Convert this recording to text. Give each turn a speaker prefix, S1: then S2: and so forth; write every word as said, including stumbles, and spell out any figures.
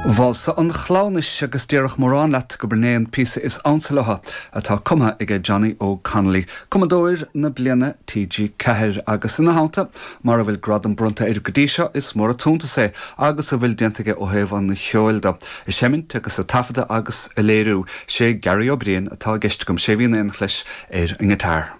S1: Válsa an Chleamhnais agus déarfadh mórán leat gurb é an píosa is ansa leo atá cumtha ag Johnny Óg Connolly, cumadóir na bliana TG Ceathair agus ina theannta mar a bhfuil gradam bronnta air go dtí seo is mór an t-iontas é agus a bhfuil déanta aige ó thaobh an cheoil de. A sheimint agus a taifeadadh agus a léiriú sé Gary Ó Briain atá i gceist agam sé bhíon aon chleis ar an ngiotár.